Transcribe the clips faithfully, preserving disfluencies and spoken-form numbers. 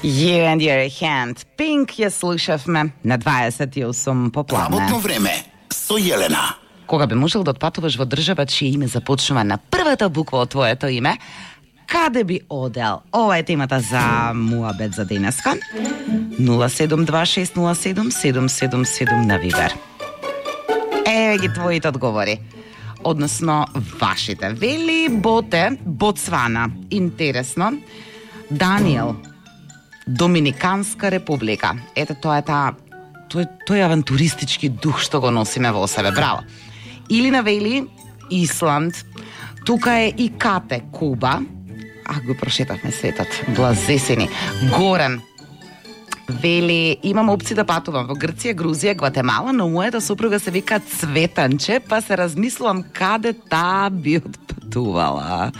You and your hand. Pink ја слушавме на дваесет и осум попладне. Работно време со Јелена. Кога би можел да отпатуваш во држава чие име започнува на првата буква од твоето име, каде би одел? Ова е темата за муабет за денеска. нула седум два шест нула седум седум седум седум на Вибер. Еве ги твоите одговори. Односно вашите. Вели Боте, Ботсвана. Интересно. Даниел, Доминиканска република. Ете, тоа е таа тој тој авантуристички дух што го носиме во себе. Браво. Или навели Исланд. Тука е и Кате, Куба. А, го прошетавме светот. Блазесени. Горан вели, имам опција да патувам во Грција, Грузија, Гватемала, но мојата супруга се вика Цветанче, па се размислувам каде таа би отпатувала.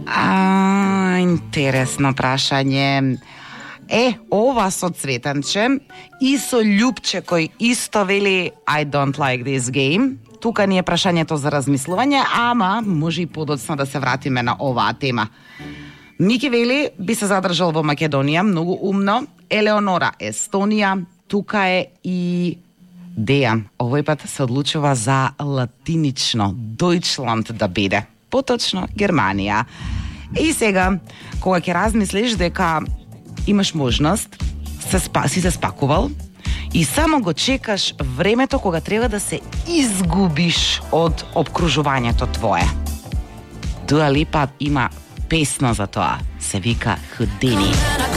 А, интересно прашање. Е, ова со Цветанче и со Љупче кој исто вели I don't like this game. Тука ни е прашањето за размислување, ама може и подоцна да се вратиме на оваа тема. Мики вели би се задржал во Македонија, многу умно. Елеонора, Естонија, тука е и Дејан. Овој пат се одлучува за латинично, Дојчланд да биде. Поточно Германија. И сега, кога ќе размислиш дека имаш можност, се спа, си се спакувал и само го чекаш времето кога треба да се изгубиш од обкружувањето твое. Дуа Липа има песна за тоа. Се вика Houdini.